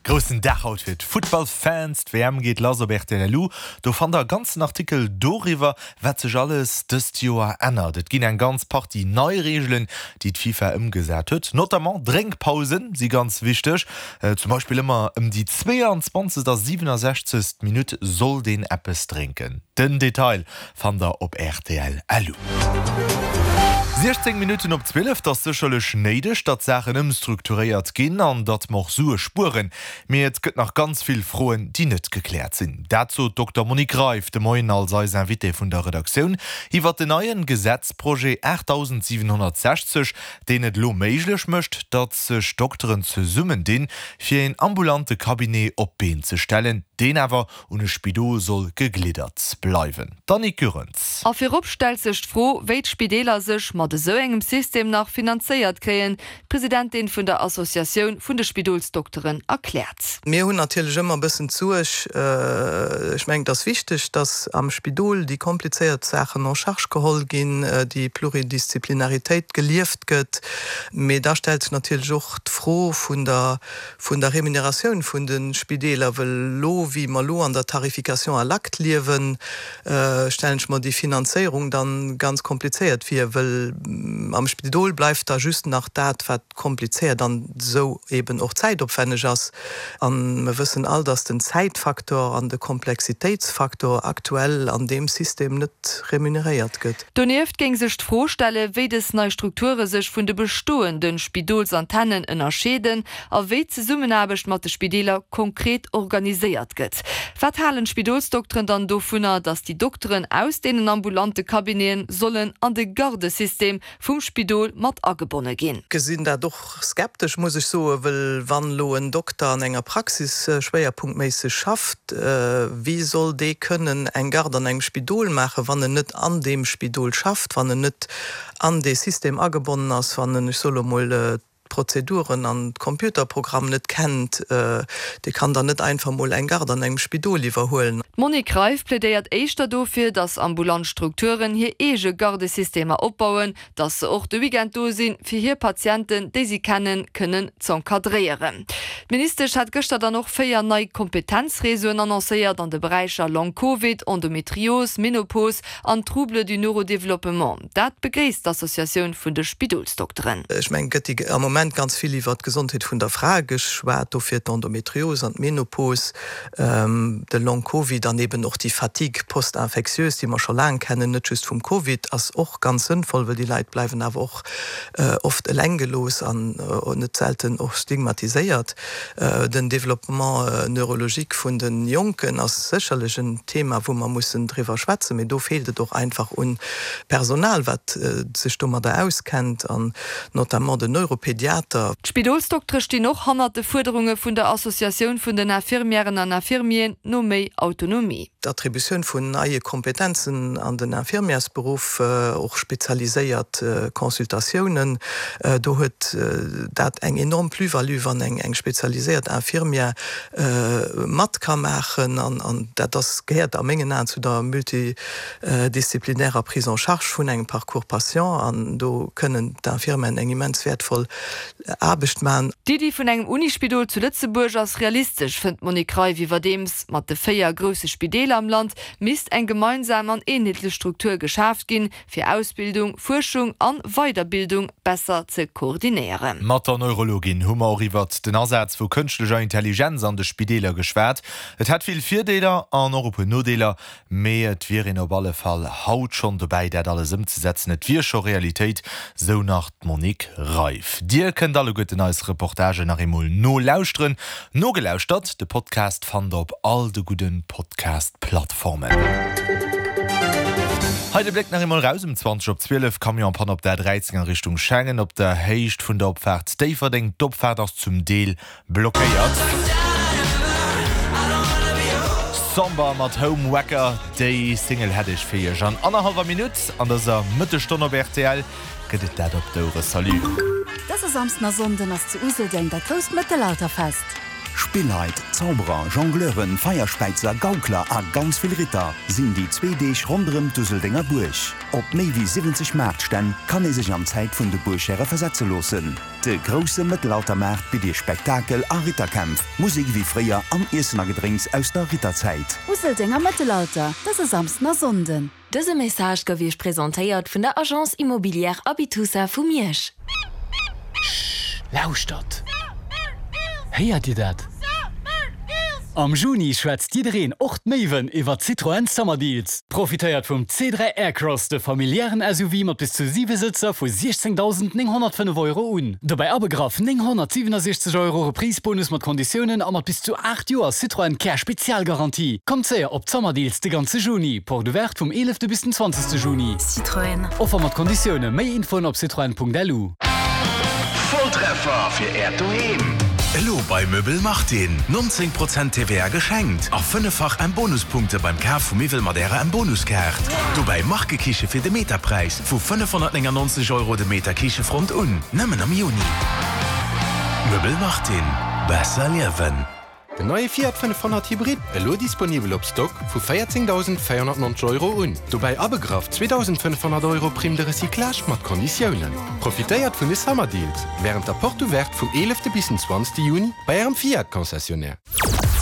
Groussen Dag haut fir d'Futtballfans, d'WM geet lass op rtl LU. Do fannt der e ganzen Artikel doriwwer, wat sech alles dëst Joer ännert. Et ginn eng ganz Partie nei Reegelen, déi d'FIFA ëmgesat huet. Notamment Drénkpausen si ganz wichteg. Zum Beispill ëmmer ëm déi 22. a 67. Minutt sollt een eppes drénken. Den Detail fannt der op rtl LU. 16 Minutten op 12, 't ass sécherlech néideg, datt Saachen ëmstrukturéiert ginn an datt mer och Sue spueren. Mee et gëtt nach ganz vill Froen, déi net gekläert sinn. Dat sot d'Dokter Monique Reiff de Moien als eis Invitée vun der Redaktioun iwwert den neien Gesetzprojet 8760, deen et elo méiglech mécht, datt sech Dokteren zesummendinn, fir een ambulante Cabinet op d'Been ze stellen, deen awer un e Spidol soll gegliddert bleiwen. D'Annick Goerens. A virop stellt sech d'Fro, wéi d'Spideeler sech mat esou engem System nach finanzéiert kréien. D'Presidentin vun der Associatioun vun de Spidolsdokteren erkläert. Mir hunn natierlech ëmmer e bëssen d'Suerg, ech mengen, et ass wichteg, datt am Spidol déi komplizéiert Saachen en charge geholl ginn, déi Pluridisziplinaritéit gelieft gëtt. Mee da stellt sech natierlech och d'Fro vun der vun der Remuneratioun vun de Spideeler, wëll elo, wéi mer elo an der Tarification à l'acte liewen, stellen ech mer déi Finanzéierung dann ganz komplizéiert vir, wëll am Spidol bleift da just nach dat, wat komplizéiert an esou eben och zäitopwänneg ass. A mer wëssen all, dass den Zäitfaktor an de Komplexitéitsfaktor aktuell an deem System net remuneréiert gëtt. Donieft géing sech d'Fro stellen, wéi dës nei Strukture sech vun de bestoende Spidolsantennen ënnerscheeden a wéi d'Zesummenaarbecht mat de Spideeler konkret organiséiert gëtt. Wat halen d'Spidolsdokteren dann dovunner, datt déi Dokteren aus deenen ambulante Cabineten sollen an de Gardesystem vum Spidol mat agebonne ginn? Gesinn dat och skeptesch, muss ech soen, wëll wann elo en Dokter an enger Praxis schwéierpunktméisseg schafft, wéi soll dee kënnen eng Garde an engem Spidol maachen, wann en net an deem Spidol schafft, wann en net an dee System agebonnen ass, wann en, ech soe lo mol, d'Prozeduren an d'Computerprogramm net kennt? Dee kann dann net einfach mol eng Garde an engem Spidol iwwerhuelen. D'Monique Reiff plädéiert éischter dofir, datt ambulant Strukturen hir eege Gardesystemer opbauen, dass se och de Weekend do sinn, fir hir Patienten, déi si kennen, kënnen z'encadréieren. D'Ministesch hat gëschter dann och 4 nei Kompetenzreseauen annoncéiert an de Beräicher Long Covid, Endometrios, Menopos an Troubles du neurodéveloppement. Dat begréisst d'Associatioun vun de Spidolsdokteren. Ech mengen, et gëtt am Moment ganz vill iwwert d'Gesondheet vun der Fra geschwat, dofir d'Endometrios an d'Menopos. De Long Covid an eben och déi Fatigue post-infectieuse, déi mer scho laang kennen, net just vum Covid, ass och ganz sënnvoll, well déi Leit bleiwen awer och oft eleng gelooss an net selten och stigmatiséiert. Den Développement neurologique vun de Jonken ass sécherlech en Thema, wou mer mussen driwwer schwätzen, mee do feelt et och einfach un Personal, wat sech domadder auskennt an notamment den Neuropédiater. D'Spidolsdoktere stinn och hannert de Fuerderunge vun der Associatioun vun den Infirmièren an Infirmieren no méi Autonomie. D'Attributioun vun neie Kompetenzen an den Infirmièrsberuff, och spezialiséiert Consultatiounen, do huet dat eng enorm Plus-value, wann eng spezialiséiert Infirmière mat ka maachen. An dat ass, gehéiert a mengen Aen zu der multi. disziplinärer Prise en charge vun engem Parcours patient an do kënnen d'Infirmieren eng immens wäertvoll Aarbecht man. D'Iddi vun engem Unispidol zu Lëtzebuerg ass realistesch, fënnt d'Monique Reiff. Iwwerdeems mat de 4 grousse Spideeler am Land misst eng gemeinsam an eenheetlech Struktur geschaaft ginn, fir Ausbildung, Fuerschung an Weiderbildung besser ze koordinéieren. Mat der Neurologin hu mer och iwwert den Asaz vu kënschtlecher Intelligenz an de Spideeler geschwat. Et hätt vill Virdeeler an och e puer Nodeeler. Mee et wier een op alle Fall haut schonn dobäi, dat alles ëmzesetzen. Et wier scho Realitéit, sou nach d'Monique Reiff. Dir kënnt alleguerten eis Reportagen nach eemol nolauschteren. Nogelauschtert, de Podcast fannt der op all de gudde Podcast-Plattformen. Hei de Bléck nach eemol raus um 20 op 12, Camion-Panne op der A13 a Richtung Schengen op der Héicht vun der Opfaart Déifferdeng. D'Opfaart ass zum Deel Blockéiert. Somber mat Home Wrecker, déi Single hätt ech fir iech an annerhallwer Minutt. An dëser Mëttesstonn op rtl gëtt et dat op d'Ouere. Salut. Dëse Samsden a Sonnden ass zu Useldeng dat grousst Mëttelalterfest. Spilleit, Zauberer, Jongleuren, Feierspäizer, Gaukler a ganz vill Ritter sinn déi zwee Deeg ronderëm d'Useldenger Buerg. Op méi wéi 70 Maartstänn kann ee sech an d'Zäit vun de Buerghäre versetze loossen. De grousse Mëttelaltermaart bitt Iech Spektakel a Ritterkämpf, Musek ewéi fréier an Iessen a Gedrénks aus der Ritterzäit. Useldenger Mëttelalter, dëse Samsden a Sonnden. Dëse Message gouf Iech presentéiert vun der Agence Immobilière Abitusa vu Miersch. Shh, lauschtert! Héiert Dir dat? Am Juni schwätzt jiddereen, och d'Méiwen, iwwer Citroën Summer Deals. Profitéiert vum C3 Aircross, de familiären SUV mat bis zu 7 Sëtzer vu 16.905 Euro un. Dobäi abegraff 967 Euro Reprise-Bonus mat Konditiounen a mat bis zu 8 Joer Citroën Care Spezialgarantie. Kommt séier op d'Summer Deals de ganze Juni. Porte ouverte vum 11 bis den 20 Juni. Citroën. Offer mat Konditioune. Méi Infoen op citroen.lu. Volltreffer fir äert Doheem! Elo bei Möbel Martin, 19 Prozent TVA geschenkt a fënneffach M-Bonuspunkte beim Kaf vu Miwwel mat ärer M-Bonuskaart. Dobäi Markekiche fir de Meterpräis vu 599 Euro de Meter Kichefront un, nëmmen am Juni. Möbel Martin, besser liewen. Den neie Fiat 500 Hybrid, elo disponibel op Stock vu 14.490 Euro un. Dobäi abegraff 2.500 Euro Prime de recyclage mat Konditiounen. Profitéiert vun de Summer Deals wärend der Porte Ouverte vum 11 bis den 20 Juni bei ärem Fiat Concessionnaire.